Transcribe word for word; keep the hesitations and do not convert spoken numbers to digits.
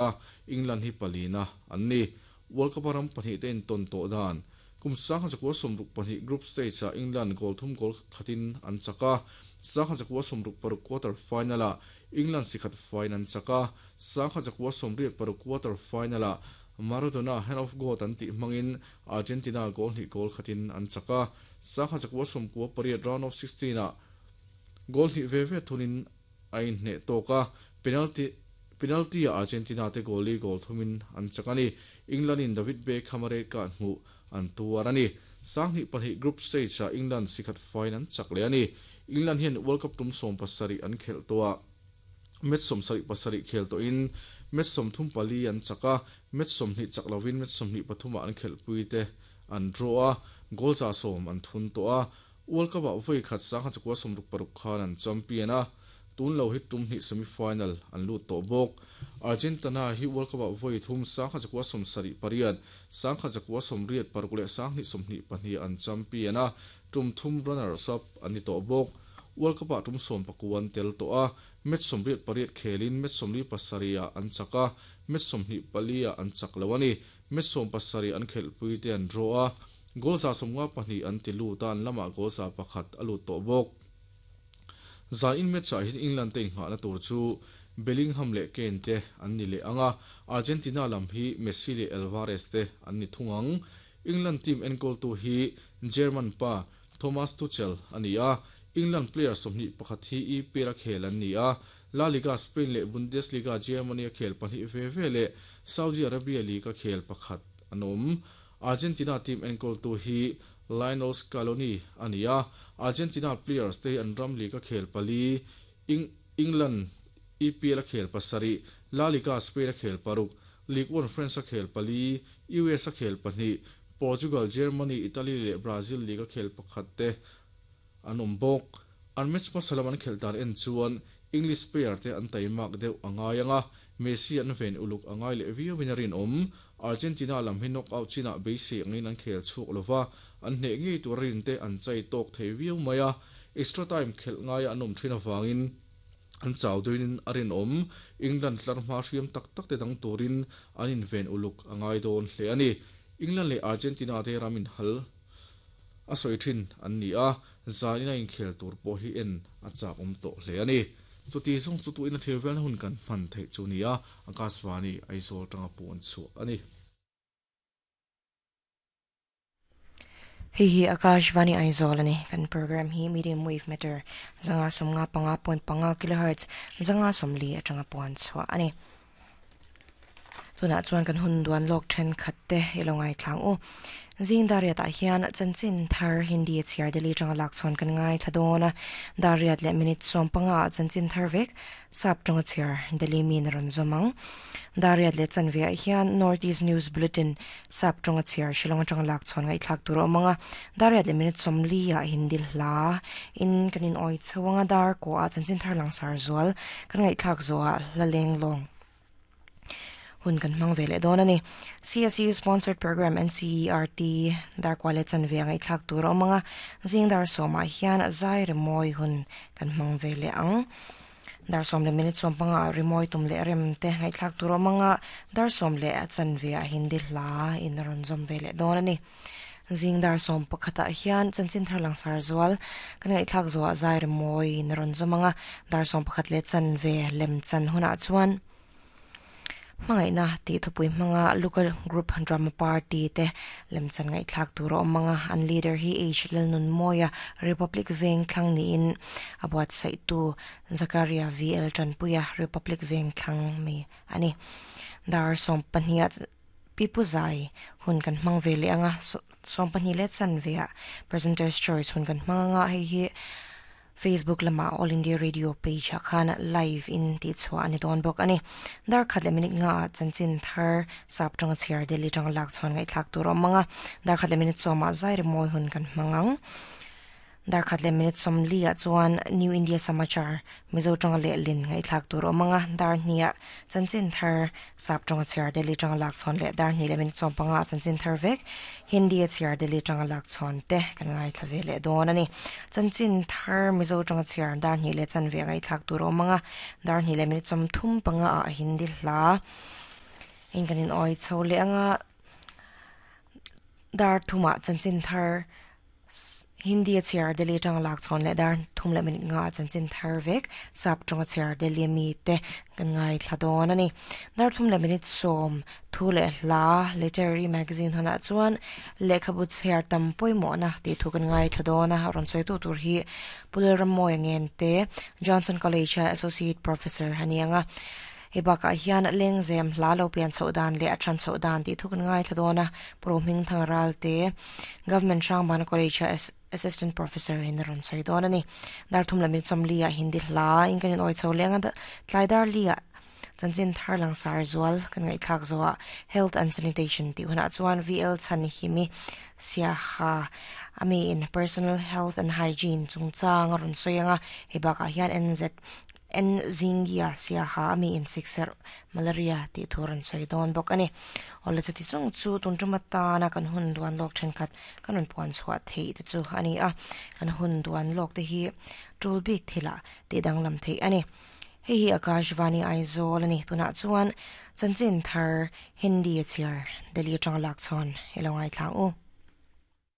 A England hi palina an ni. World Cup ram pahnih te in ton to dan kum sangha zakua somruk pahnih group stage a England goal thum goal khatin an chaka sangha zakua somruk paruk quarter final a England sikhat final an chaka sangha zakua somriat paruk quarter final a Maradona hand of God an ti mangin Argentina goal hi goal khatin an chaka sangha zakua somkua pariat round of sixteen a goal hi ve ve thunin ain hne toka penalty penalty a Argentina te goal li goal thumin an chakani England in David Beckham re ka hmu an tuarani sanghi pahnih group stage a England sikhat final chak le ani. England hian World Cup tum som pasari an khel towa match som sari pasari khel to in match som thum pali an chaka match som hi chak lovin match som hi pathuma an khel puite an draw a goal za som an thun to a World Cup a voi khat sang kha chakwa som ruk paruk khan an champion a tun lo hi tum hi semi final an lu to bok. Argentina hi World Cup a voi thum sang kha chakwa som sari pariat sang kha chakwa som riat paruk le sang ni som ni pahnih an champion a tum thum runners up ani to bok. World Cup a tum som pakuan tel to a match som riat pariat khelin match som li pasaria an chaka match som ni palia an chak lawani match som pasari an khel pui te an draw a goal za somnga pahnih an ti lu tan lama goal za pakhat alu to bok. Za in match a hin England te nga na tur chu Bellingham le Kane te an ni le anga Argentina lam hi Messi le Alvarez te an ni thungang. England team en goal tu hi German pa Thomas Tuchel ani a England player somni pakhat hi E P L khel an ni a La Liga Spain le Bundesliga Germany khel pahnih ve ve le Saudi Arabia League khel pakhat anom. Argentina team en goal tu hi Lionel Scaloni ania Argentina players te an ram league khel pali England E P L khel pasari La Liga Spain khel paruk Ligue one France khel pali U S khel pahnih Portugal Germany Italy le Brazil League khel pakhat te anom bok. An match pasalaman khel dan en chuan English player te an taimak deuh angayanga Messi an ven uluk angai le viu winarin om. Argentina lam hi knockout china beisi angin an khel chuk lova an hne ngi turin te an chai tok thei viu maya extra time khel ngai anom thina wangin an chaw duin arin om. England tlar ma hriam tak tak te dang turin an in ven uluk angai don hle ani. England le Argentina te ramin hal a soi thin an ni a zaina in khel tur po hi en a chak om to hle ani. Chu ti song chu tu in a thil vel hun kan man thei chu nia Akashvani Aizawl tanga pon chu ani. Hei hi Akashvani Aizawl ani kan program hi medium wave meter zanga somnga panga point panga kilohertz zanga somli atanga pon chu ani. Tuna chuan kan hun duan lok then khatte ilongai thlang u zing dariat ah hian chanchin thar Hindi chiar deli tanga lak chon kan ngai thadona dariat le minute som panga chanchin thar vek sap tanga chiar deli min ron zomang dariat le chanve hian North East News Bulletin sap tanga chiar Shillong tanga lak chon ngai thlak tur omanga dariat le minute som li a Hindi hla in kanin oi chawanga dar ko a chanchin thar lang sar zual kan ngai thlak zo a laleng long hun kan mang vele don ani. C S U sponsored program N C E R T dar kwale chan ve ngai thlak tur omanga zing dar soma hian zai remoi hun kan mang vele ang dar som le minute som panga remoi tum le rem te ngai thlak tur omanga dar som le chan ve a Hindi hla in ron zom vele don ani. Zing dar som pakhata hian chanchin thar lang sar zual kan ngai thlak zo zai remoi in ron zomanga dar som pakhat le chan ve lem chan huna chuan mangai na ti thupui manga local group drama party te lemchan ngai thlak tur omanga an leader hi H Lalnun Moya Republic Veng thlang ni in abuat sai tu Zakaria V L Chanpuya Republic Veng thlang mi ani. Dar som pahnia pipuzai hun kan mang vele anga som pahni le chan vea presenters choice hun kan manga hei hi Facebook lama All India Radio page khan live in ti chwa ani don bok ani. Dar khat le minute nga chanchin thar sap tanga chiar deli tanga lak chon ngai thlak tur omanga dar khat le minute soma zai re moi hun kan mangang dar khat le minute som li a chuan New India Samachar Mizo tanga le lin ngai thlak tur omanga dar hnia chanchin thar sap tanga chiar deli tanga lak chon le dar hni le minute som panga chanchin thar vek Hindi chiar deli tanga lak chon te kan ngai thlave le don ani. Chanchin thar Mizo tanga chiar dar hni le chan ve ngai thlak tur omanga dar hni le minute som thum panga a Hindi hla In kanin oi chho le anga dar thuma chanchin thar Hindi a chair Delhi tang lak chon le dar thum le minute nga chanchin thar vek sap tong chair Delhi mi te kan ngai thladon ani dar thum le minute som thu le hla literary magazine hona chuan lekhabu chair tam poimo na ti thu kan ngai thladona ron soi tu tur hi Pulram moi ngen te Johnson College associate professor hanianga hebaka hian lengzem hla lo pian chho dan le athan chho dan ti thukun ngai thladona proming thangral te government Shangban College assistant professor in ron soi don ani dar thum lami chomli a hindi hla in oi chho lenga tlaidar lia chanchin tharlang sar zual kan ngai thak zowa health and sanitation ti huna chuan vl chan himi sia ha ami in personal health and hygiene chungchang ron soyanga hebaka hian nz en zingia sia ha ami in sixer malaria ti thuran soi don bok ani ole chu ti chung chu tun tumata na kan hun duan lok then khat kanun puan chhuwa thei te chu ani a kan hun duan lok te hi tul bik thila ti danglam thei ani hei hi Akashvani Aizawl ani tuna chuan chanchin thar Hindi a chiar Delhi tang lak chon helongai thlang u.